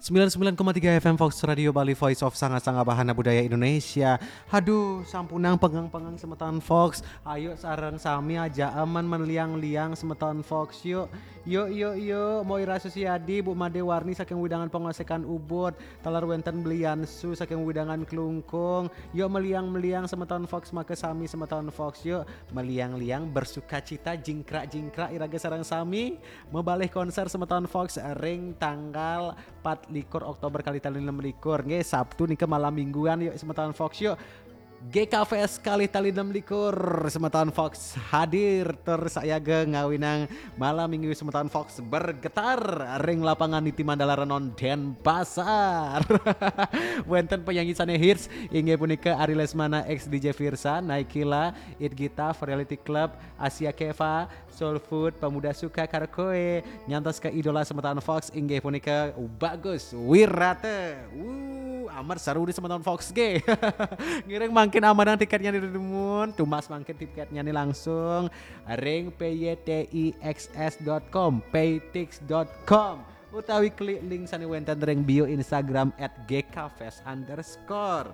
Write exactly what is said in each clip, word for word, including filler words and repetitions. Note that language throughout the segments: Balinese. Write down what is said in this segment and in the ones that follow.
Sembilan sembilan koma tiga F M Fox Radio Bali, Voice of Sanga-Sanga Bahana Budaya Indonesia. Aduh, sampunang pengang-pengang semeton Fox. Ayo sareng sami aja aman meliang-liang semeton Fox yuk. Yuk, yuk, yuk, mau Ira Susiadi, Bu Made Warni saking Widangan Pengosekan Ubud, taler wenten Beliansu saking Widangan Klungkung. Yuk meliang-meliang semeton Fox, make sami semeton Fox yuk. Meliang-liang bersukacita jingkrak-jingkrak iraga sareng sami. Mebalih konser semeton Fox ring tanggal empat likur Oktober kali tali enam likur. Nggih, Sabtu nika malam mingguan yuk semeton Fox yuk. G K Fest kali tali enam likur semeton Fox hadir tur sayaga ngawinang malam minggu semeton Fox bergetar ring lapangan Niti Mandala Renon Denpasar. Wenten penyanyi sane hits inggih punika Ari Lesmana, ex D J Firsa, Naikila, It Gita, Reality Club, Asia Keva, Soul Food, Pemuda Suka Karaoke, nyantos ke idola semeton Fox inggih punika Bagus Wirata. Wuh, amat seru di semeton Fox ge. Ngiring mangkin amanang tiketnya di dumun, tumbas mangkin tiketnya ni langsung ring P Y T I X S dot com, paytix dot com, utawi klik link sane wenten ring bio Instagram at G K fest underscore.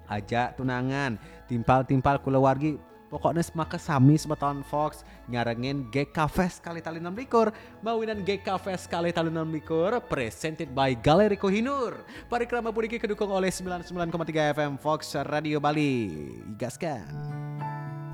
Aja tunangan, timpal-timpal kulawargi, pokoknya semaka sami semeton Fox nyarengin G K Fest kali tali enam likur, mawinan G K Fest kali tali enam likur, presented by Galeri Kohinoor. Parikrama puniki kedukung oleh sembilan sembilan koma tiga F M Fox Radio Bali. Gaskan.